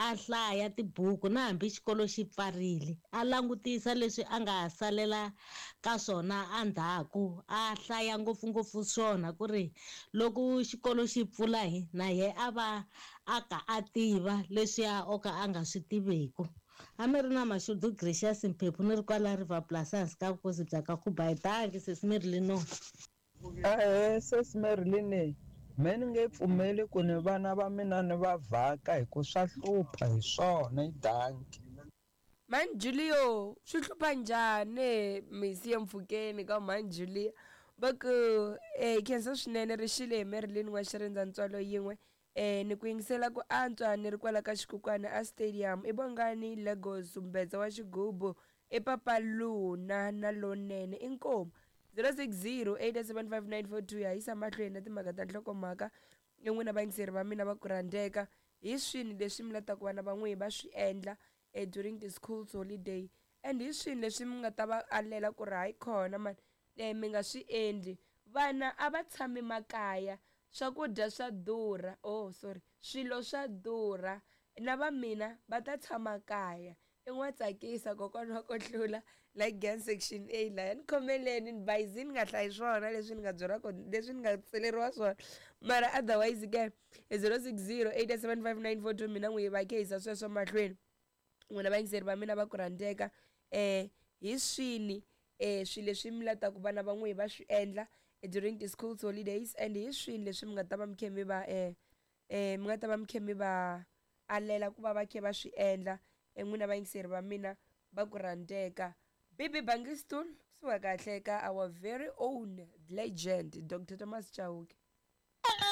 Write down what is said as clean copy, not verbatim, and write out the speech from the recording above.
A hlaya tibuku na hambi xikolo xi pfarile, a langutisa leswi a nga salela ka swona endzhaku, a hlaya ngopfungopfu swona ku ri loko xikolo xi pfula hi na yena a va a ka a tiva leswiya o ka a nga swi tiveku. A mi ri na mashudu Gracious Mphephu ni ri kwala River Plus ehansi ka vukosi bya ka Khubayi. Dankie sesi Marilyn. Ahee sesi Marilyn, me ni nge pfumeli ku ni vana va mina ni va vhaka hi ku swa hlupha hi swona i dankie. Mhani Julio swi hlupha njhani misi ya mpfhukeni ka mhani Julia va ku eh khensa swinene rixile hi Marilyn wa xirindza ntswalo yin'we eh ni ku yingisela ku antswa ni ri kwala ka xikukwana a stadium i Bongani Lagos mbedza wa xigubu i papa Luna na lonene inkomu 0608755942 ya yisa mahlweni na timhaka ta nhlokomhaka i n'wina vayingiseri va mina va ku rhandzeka hi swini leswi mi lataka vana va n'wina va swi endla eh, during the school's holiday and hi swini leswi mi nga ta va alela ku ri hayi khona mani eh, mi nga swi endli vana a va tshami makaya swakudya swa durha oh sorry swilo swa durha na va mina va ta tshama kaya i n'wa tsakisa kokwana wa kohlula like gang section A laya ni khomeleni ni bayizi ni nga hlayi swona leswi ni nga byeriwa kona leswi ni nga tseleriwa swona mara otherwise ke 060 875 mina n'wi va khehisa sweswo mahlweni n'wina vayingiseri va mina va ku rhandzeka um hi swini um swilo leswi mi lataku vana va n'wihi va swi endla during the school's holidays and hi swini leswi mi nga ta va mi khe mi va um mi nga ta va mi khe mi va alela ku va va khe va swi endla n'wina vayingiseri va mina va ku rhandzeka bibi bangistul kusuka kahle ka our very own legend Dr Thomas Chauke.